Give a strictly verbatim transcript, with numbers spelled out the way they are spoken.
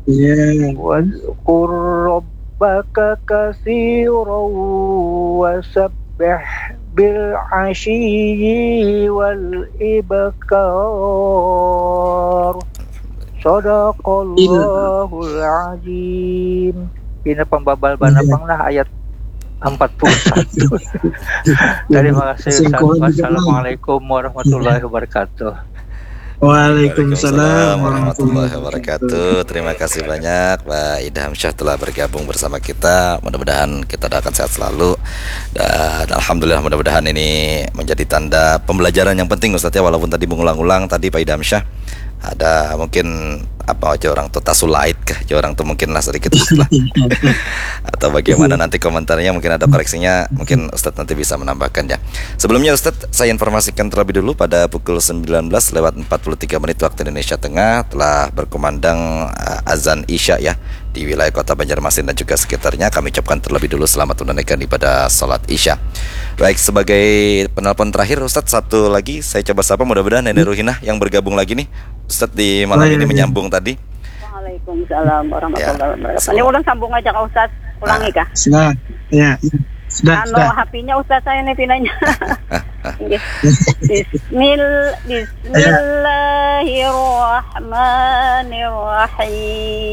Iya. واذكر ربك كثيرا وسبح بالعشي والإبكار. صدق الله العظيم. Pina pambabal banar pang nah ayat empat puluh satu. Terima kasih, Ustaz. Wassalamualaikum warahmatullahi wabarakatuh. Waalaikumsalam warahmatullahi wabarakatuh. Terima kasih banyak Pak Idham Syah telah bergabung bersama kita. Mudah-mudahan kita doakan sehat selalu. Dan alhamdulillah, mudah-mudahan ini menjadi tanda pembelajaran yang penting, Ustaz, ya, walaupun tadi mengulang-ulang tadi Pak Idham Syah. Ada mungkin apa aja orang tuh tasulait kah? Ya, orang tuh mungkin lah sedikit lah. Atau bagaimana nanti komentarnya, mungkin ada koreksinya, mungkin Ustadz nanti bisa menambahkan ya. Sebelumnya Ustadz, saya informasikan terlebih dulu pada pukul sembilan belas lewat empat puluh tiga menit waktu Indonesia Tengah telah berkumandang uh, azan Isya ya di wilayah kota Banjarmasin dan juga sekitarnya. Kami ucapkan terlebih dulu selamat menunaikan ibadah salat Isya. Baik, sebagai penelpon terakhir Ustadz, satu lagi saya coba sapa, mudah-mudahan Nenek Ruhinah yang bergabung lagi nih Ustadz di malam ini menyambung tadi. Waalaikumsalam warahmatullahi wabarakatuh. Ini ulun sambung aja kah Ustadz? Ulangi kah? Sudah. Ya, ya. Sudah, Anu sudah. H P-nya Ustadz saya ini pinanya. Nggih. Bismil Bismillahirrahmanirrahim.